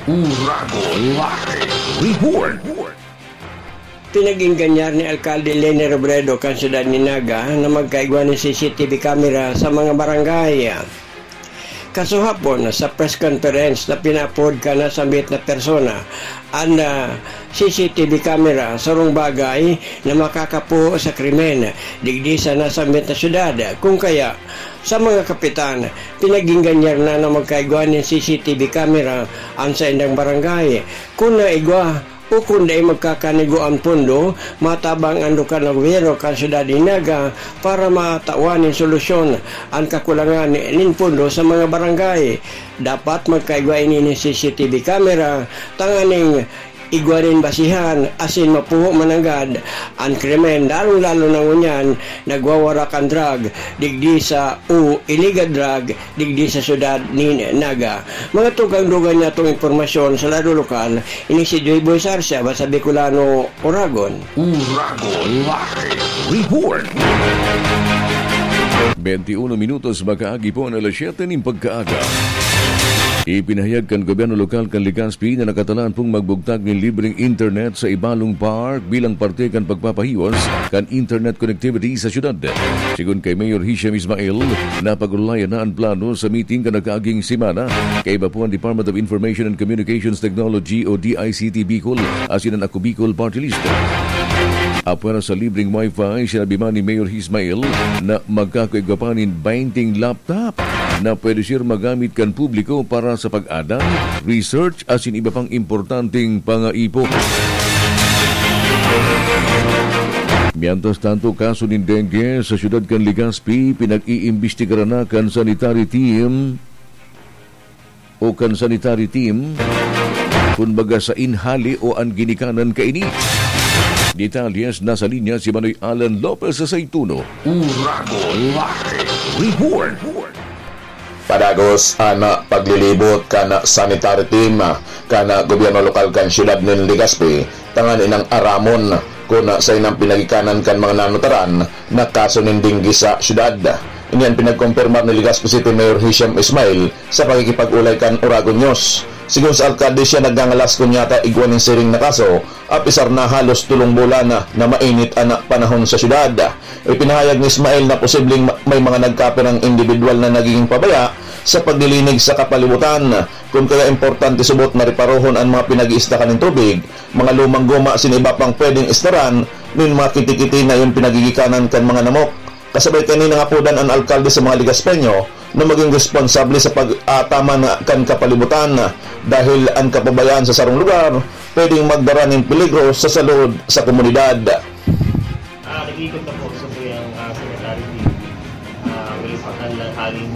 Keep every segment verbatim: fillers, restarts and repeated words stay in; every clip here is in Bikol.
Uragon Live Report. Pinag-ingganyar ni Alkalde Leni Robredo kan siyudad ni Naga na magkaigwa nin C C T V camera sa mga barangay. Kasuhapon, sa press conference na pinaapod kan nasambit na persona, an, ah, C C T V camera sarong bagay na makakapuho sa krimen digdi sa nasambit na syudad. Kung kaya, sa mga kapitan, pinag-ingganyar na na magkaigwa nin C C T V camera an saindang barangay. Kun naigwa o kun dai magkakanigwa an pondo, matabang an lokal na gobyerno kan syudad nin Naga para matawan nin solusyon an kakulangan nin pondo sa mga barangay. Dapat magkaigwa ini nin C C T V camera tanganing igwa nin basihan asin mapuho mananggad an krimen, lalong-lalo na ngunyan nagwawarak an drug digdi sa o illegal drug digdi sa syudad nin Naga. Mga tugang-dugang niya itong impormasyon sa lado lokal, ini si Joy Boy Sarsia, basta Bicolano, Oragon. Uragon Live Report. Bente uno minutos makaagi po an alas siyete nin pagkaaga. Ipinahayag kan gobyerno lokal kan Legazpi na nakatalaan pong magbugtak nin libreng internet sa Ibalong Park bilang parte kan pagpapahiwas kan internet connectivity sa syudad. Sigon kay Mayor Hisham Ismail, napag-orolayan na an plano sa meeting kan nakaaging semana kaiba po an Department of Information and Communications Technology o D I C T Bicol asin an Ako Bicol Party List. Apwera sa libreng wifi, sinabi man ni Mayor Ismail na magkakaigwa pa nin baynte laptop na pwede siya magamit kan publiko para sa pag-adal, research asin iba pang importanteng pangaipo. Mientras tanto, kaso nin dengue sa siyudad kan Legazpi, pinag-iimbestigaran na kan sanitary team o kan sanitary team kun baga sain hali o an ginikanan kaini. Detalles, nasa linya si Manoy Alan Lopez sa Saituno. Uragon Live Report. Padagos an paglilibot kan sanitary team kan gobyerno lokal kan siyudad nin Legazpi tanganing aramon kun saen an pinagikanan kan mga nanutaran na kaso nin dengue sa siyudad. Ini an pinagkumpirmar ni Legazpi City Mayor Hisham Ismail sa pakikipag-olay kan Oragon News. Sigon sa alkalde, siya nagngangalas kun yata igwa nin siring na kaso, apisar na halos tolong bulan na, na mainit an panahon sa siyudad. Ipinahayag ni Ismail na posibleng ma-, may mga nagkapirang indibidwal na nagiging pabaya sa paglilinig sa kapalibutan, kun kaya importante subot na reparohon an mga pinag-iistakan nin tubig, mga lumang guma asin iba pang pwedeng istaran nin mga kitikiti na iyon pinagigikanan kan mga namok. Kasabay kaini, nangapodan an alkalde sa mga Legazpeño na magin responsable sa pag-aataman kan kapalibutan, dahil an kapabayaan sa sarong lugar pwedeng magdara nin peligro sa salud sa komunidad. Ah, nag-iikot na po sa tuyang, ah, sanitary team. Ah, may pakan lang haling,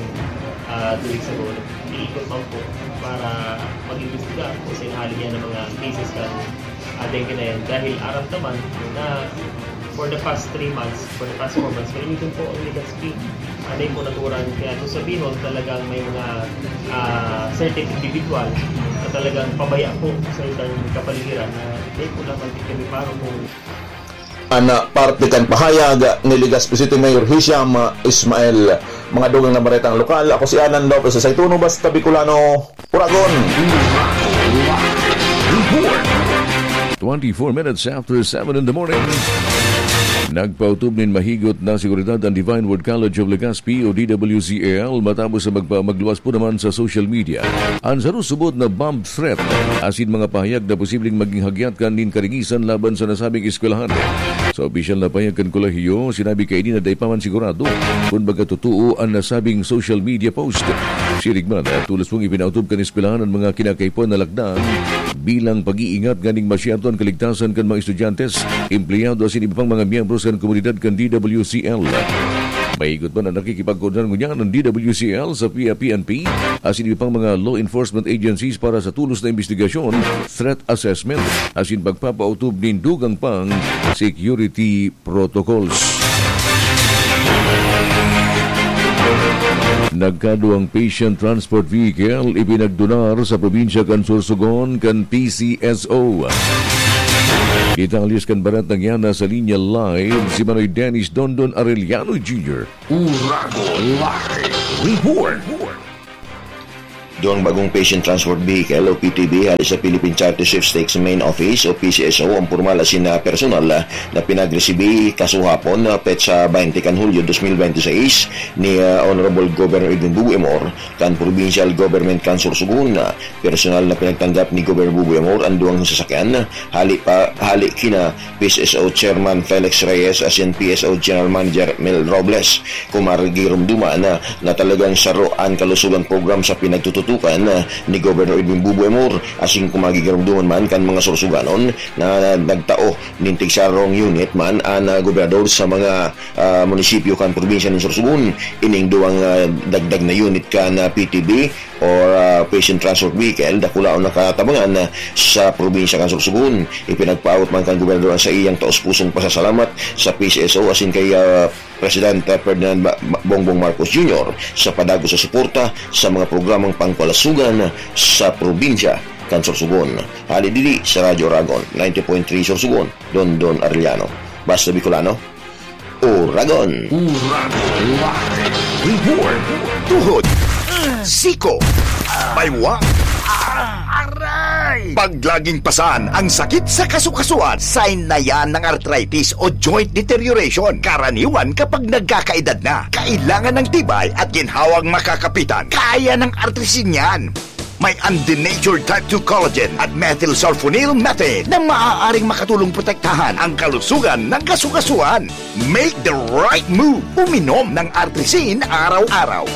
ah, two weeks ago. Nag-iikot man po para mag-imbestiga kung saan hali niya ng mga cases kan, ah, dengue na yan. Dahil aram naman na for the past three months, for the past four months, malinisin po ang Legazpi. Ano yung naturan? Kaya kung sabihin, talagang may mga, ah, certain individual na talagang pabaya po sa isang kapaligiran na hindi po naman kami parang kung An parte kan pahayag ni Legazpi City Mayor Hisham Ismail. Mga dugang na baretang lokal, ako si Alan Lopez sa Saituno, basta Bicolano, Uragon. Twenty-four minutes after seven in the morning. Nagpautub nin mahigot na seguridad ang Divine Word College of Legazpi o D W C L matapos sa magpa-, magluwas po naman sa social media an sarong subot na bomb threat asin mga pahayag na posibleng maging hagyat kan nin karingisan laban sa nasabing eskwelahan. Sa opisyal na pahayag kan kolehiyo, sinabi kaini na dai pa man sigurado kun baga totoo an nasabing social media post. Siring man, tolos pong ipinautob kan eskwelahan an mga kinakaipuhan na lakdan bilang pag-iingat nganing masyerto an kaligtasan kan mga estudyante, empleyado asin iba pang mga miyembros kan komunidad kan D W C L. Mahigot man an nakikipagkoordinar ngunyan an D W C L sa P I A P N P asin iba pang mga law enforcement agencies para sa tolos na imbestigasyon, threat assessment, asin pagpapautob nin dugang pang security protocols. Nagkaduwang patient transport vehicle ipinagdonar sa probinsya kan Sorsogon kan P C S O. Detalles kan baretang yan, nasa linya live si Manoy Dennis Dondon Arellano Junior. Uragon Live Report. Duwang bagong patient transport vehicle o P T V hali sa Philippine Charity Sweepstakes Main Office o P C S O ang pormal asin na personal na pinagresibi kasuhapon na petsa twenty kan Hulyo dos mil bente seis ni, ah, Honorable Governor Edwin Bubu Emor kan Provincial Government kan Sorsogon. Personal na pinagtanggap ni Governor Bubu Emor ang duwang sasakyan hali pa, hali kina P C S O Chairman Felix Reyes asin P S O General Manager Mel Robles. Kung magirumduman na, na talagang saro an kalusugan program sa pinagtututukan, ah, ni Governor Edwin Bubu Emor, asin kung magigirumduman man kan mga Sorsoganon na nagtao nin tigsarong unit man an, ah, gobernador sa mga, ah, munisipyo kan probinsya nin Sorsogon, ining duwang, ah, dagdag na unit kan, ah, P T V or, ah, patient transport vehicle, dakulaon na katabangan, ah, sa probinsya kan Sorsogon. Ipinagpaabot man kan gobernador ang saiyang taos-pusong pasasalamat sa P C S O asin kay, ah, Presidente Ferdinand Ba-, Ba-, Bongbong Marcos Junior sa padagos sa suporta sa mga programang pangkalasogan sa probinsya kan Sorsogon. Hali digdi sa Radyo Oragon, ninety point three Sorsogon, Dondon Arellano. Basta Bicolano, Oragon. Oragon Live Report. Tuhod, siko, baywa, aray. Pag laging pasan ang sakit sa kasukasuan, sign na yan ng arthritis o joint deterioration. Karaniwan kapag nagkakaedad na, kailangan ng tibay at ginhawang makakapitan. Kaya ng Artrisin yan. May undenatured type two collagen at methylsulfonyl methane na maaaring makatulong protektahan ang kalusugan ng kasukasuan. Make the right move. Uminom ng Artrisin araw-araw.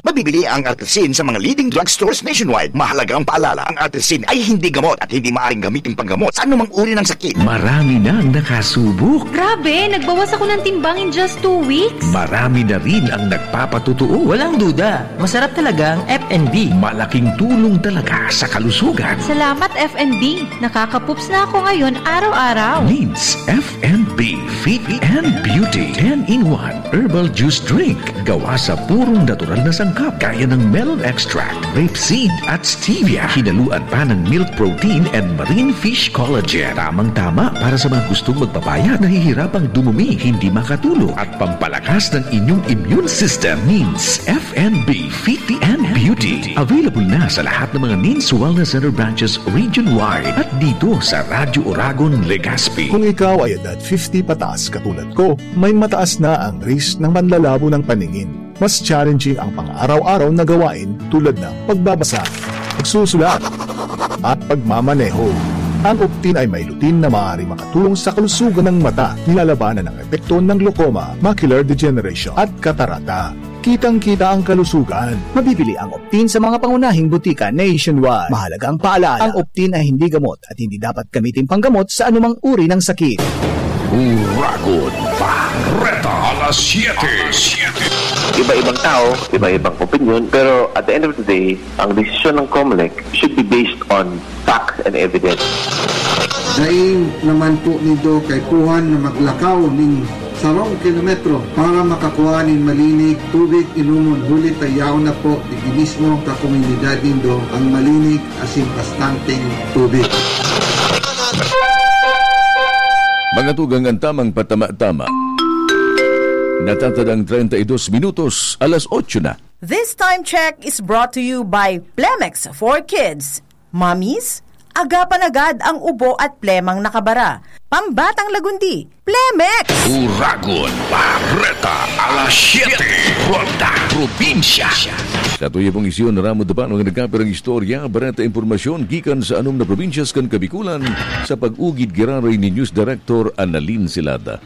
Mabibili ang Artrisin sa mga leading drugstores nationwide. Mahalagang paalala, ang Artrisin ay hindi gamot at hindi maaaring gamitin panggamot sa anumang uri ng sakit. Marami na ang nakasubok. Grabe, nagbawas ako ng timbang in just two weeks. Marami na rin ang nagpapatotoo. Walang duda, masarap talaga ang F and B. Malaking tulong talaga sa kalusugan. Salamat, F and B. Nakakapups na ako ngayon araw-araw. Needs F and B Fit and Beauty ten-in-one Herbal Juice Drink. Gawa sa purong natural na sangkap, gaya ng melon extract, grape seed, at stevia. Hinaluan pa ng milk protein and marine fish collagen. Tamang-tama para sa mga gustong magpapayat, nahihirapang dumumi, hindi makatulog, at pampalakas ng inyong immune system. Needs F and B Fit and Beauty. Available na sa lahat ng mga Needs Wellness Center branches region-wide at dito sa Radyo Oragon, Legazpi. Kung ikaw ay edad fifty pataas katulad ko, may mataas na ang risk ng panlalabo ng paningin. Mas challenging ang pang-araw-araw na gawain tulad ng pagbabasa, pagsusulat, at pagmamaneho. Ang Optin ay may lutein na maaaring makatulong sa kalusugan ng mata, nilalabanan ang epekto ng glaucoma, macular degeneration, at katarata. Kitang-kita ang kalusugan. Mabibili ang Optin sa mga pangunahing butika nationwide. Mahalagang paalala, ang Optin ay hindi gamot at hindi dapat gamitin panggamot sa anumang uri ng sakit. Uragon Bareta, alas siyete. Iba-ibang tao, iba-ibang opinyon, pero at the end of the day, ang desisyon ng Comelec should be based on facts and evidence. Dai naman po nindo kaipuhan na maglakaw nin sarong kilometro para makakua nin malinig tubig inomon, huli ta yaon na po digdi mismo sa komunidad nindo ang malinig asin bastanteng tubig. Mga tugang, ang tamang patama-tama. Natatadang treinta y dos minutos, alas otso na. This time check is brought to you by Plemex for Kids. Mommies, agapan agad ang ubo at plemang nakabara. Pambatang lagundi, Plemex! Uragon Bareta, alas siyete, Ronda Probinsya. Sa tuyang isyon, ramod pa ang nagkapirang istorya, bareta impormasyon gikan sa anom na probinsyas kan Kabikulan, sa pag-ugid giraray ni News Director Annalyn Silada.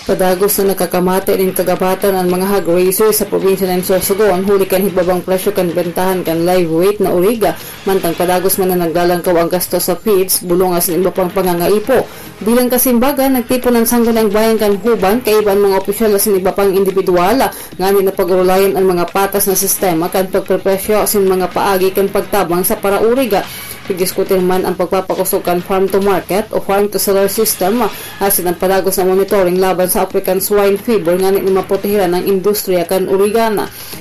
Padagos na nagkakamate nin kagabatan an mga hog raiser sa probinsya nin Sorsogon, huli kan hibabang presyo kan bentahan kan live weight na uriga, mantang padagos man na naglalangkaw ang gasto sa feeds, bulong asin iba pang pangangaipo. Bilang kasimbagan, nagtipon an Sangguniang Bayan kan Juban, kaiba an mga opisyal asin iba pang indibidwal, ngani na pag-orolayan an mga patas na sistema kan pagprepresyo asin mga paagi kan pagtabang sa parauriga. Pagdiskutir man ang pagpapakosog kan farm to market o farm to seller system, asin ang padagos na monitoring laban sa African Swine Fever ngani na maprotehiran ang industriya kan uriga.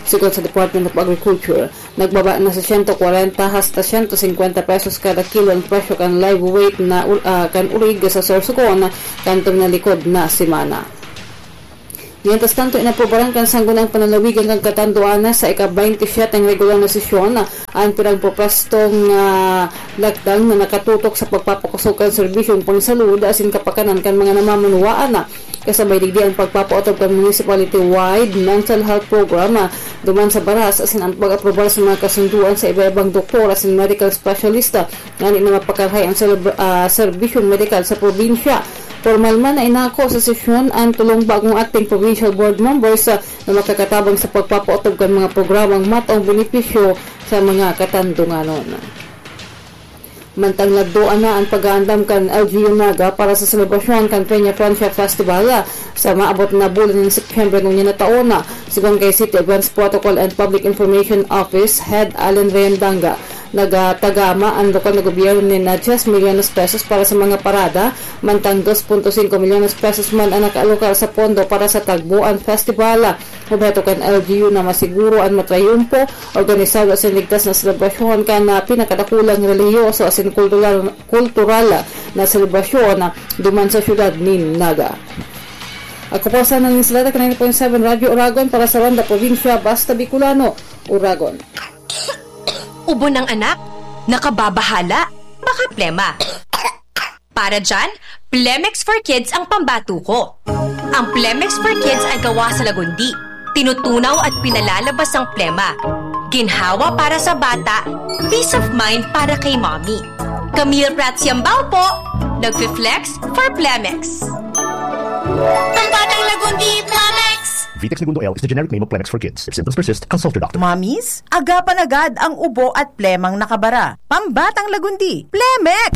Sigon sa Department of Agriculture, nagbaba na sa siyento kwarenta hasta siyento singkwenta pesos kada kilo ang presyo kan live weight na ur-, ah, kan uriga sa Sorsogon kan tuminalikod na semana. Mientras tanto, inaprobaran kan Sangguniang Panlalawigan kan Catanduanes sa ika-baynte siyete ang regular na sesyon an pirang propwestong, ah, lakdang na nakatutok sa pagpapakusog kan serbisyong pangsalud asin kapakanan kan mga namamanwaan na kasabay digdi ang pagpapaotob kan municipality-wide mental health program, ah, duman sa baras asin ang pag-aprobar sa mga kasunduan sa iba-ibang doktor asin medical specialist, ah, ngani na mapakarahay ang selebra-, ah, serbisyong medikal sa probinsya. Pormal man na inako sa sesyon an tolong bagong acting provincial board members, ah, na makakatabang sa pagpapaotob kan mga programang mataong benepisyo sa mga Katandunganon. Mantang nagduan na an pag-aandam kan L G U Naga para sa selebrasyon kan Peña Francia Festival, ah, sa maabot na bulan nin Setyembre ngunyan na taon, ah, sigon kay City Events Protocol and Public Information Office Head Allen Reyandanga. Nagatagama an lokal na gobyerno nin diyes milyones pesos para sa mga parada, mantang dos punto singko milyones pesos man ang nakaalokar sa pondo para sa Tagboan Festival. Obheto kan L G U na masiguro an matrayumpo, organisado asin ligtas na selebrasyon kan, ah, pinakadakulang relihiyoso asin kultural, kultural na selebrasyon, ah, duman sa siyudad nin Naga. Ako po sa nang Isleta, ninety point seven Radyo Oragon para sa Ronda Probinsya, Basta Bicolano, Oragon. Ubo ng anak? Nakababahala? Baka plema? Para dyan, Plemex for Kids ang pambato ko. Ang Plemex for Kids ay gawa sa lagundi. Tinutunaw at pinalalabas ang plema. Ginhawa para sa bata, peace of mind para kay mommy. Camille Prats Yambao po, nagfi-flex for Plemex. Ang batang lagundi, Plemex! Vitex Negundo L is the generic name of Plemex for kids. If symptoms persist, consult your doctor. Mommies, agapan agad ang ubo at plemang nakabara. Pambatang lagundi, Plemex!